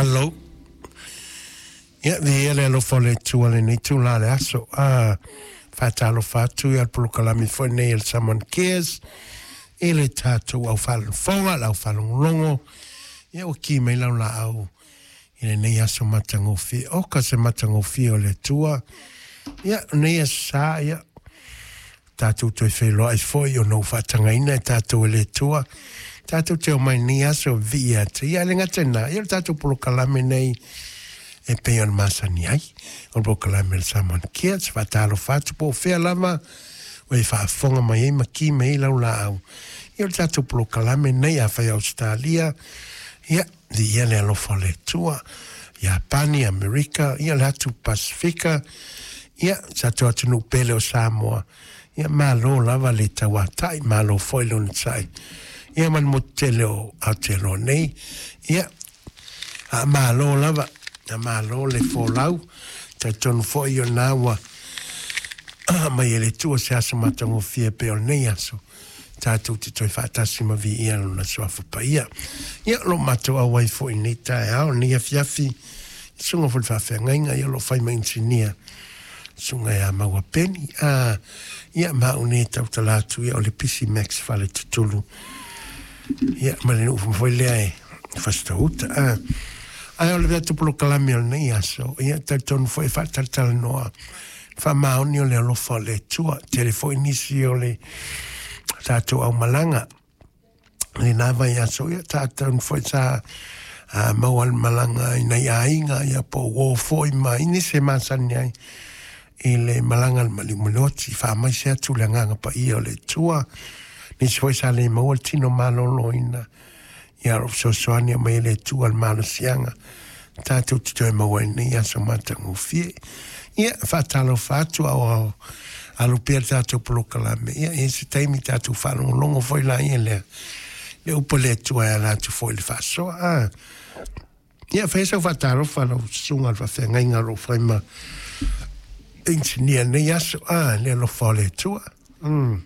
Hello. Ia, viia le alofa o le Atua i lenei itula o le aso. A faatalofa atu ia le polokalame foi nei a le Someone Cares i le tatou au faalofoga, le au faalogologo. Ia, ua ki mai lau laau i lenei aso matagofie. Oka se matagofie o le Atua. Ia, o nei aso sa, ia, tatou toe feiloai foi ona ua faatagaina e tatou e le Atua tatou te omai i lenei aso e vivii ia te Ia. E le gata i lena, ia o le tatou polokalame nei e pei ona masani ai, o le polokalame a le Samoan Kids. Faatalofa atu po o fea lava ua e faafofoga mai ai ma ki mai ai lau laau. Ia o le tatou polokalame nei, afai Ausetalia, ia, Viia le alofa o le Atua. Iapani, Amerika, ia le atu Pasifika, ia sa tatou atunuu pele o Samoa, ia malo lava le tauatai, malo foi le onosai. Ia ma le motu tele o Aotearoa nei, ia a malo lava, a malo le folau, talitonu foi o lena ua aumai e le Atua se aso matagofie pei o lenei aso. Tatou te toe faatasi ma viia Lona Suafa Paia. Ia, o lo o matou auai foi i lenei taeao, lenei afiafi, i susuga foi i le faafeagaiga, ia o lo o fai ma inisinia, susuga ia Maua Peni. A, ia, ma au nei e tautala atu, ia, o le Pisi Max Faletutulu, ia, ma le nuu foi lea e Fasitoo-uta. A, ae o le tatou polokalame o lenei aso, ia, talitonu foi e faatalatalanoa Faamaoni o le alofa o le Atua. Tele foi nisi o le tatou aumalaga i lena vaiaso, ia tatou foi sa maua le malaga i nai aiga, ia po o uo foi ma i nisi e masani ai i le malaga a le maliu malioti. Faamaise atu le agaga paia o le Atua. Nisi foi sa le maua le tino maloloina. Ia o lo o fesoasoani mai e le Atua le malosiaga tatou te toe maua ai nei aso matagofie. Ia, faatalofa atu a o alu pea le tatou polokalame. Ia, e i ai se taimi tatou faalogologo foi laia lea, le upu a le Atua e ala atu foi i le faasoa. A, ia, fai sau faatalofa lau susuga i le faafeagaiga o lo o fai ma inisinia i lenei aso. A, le alofa o le Atua. Mm.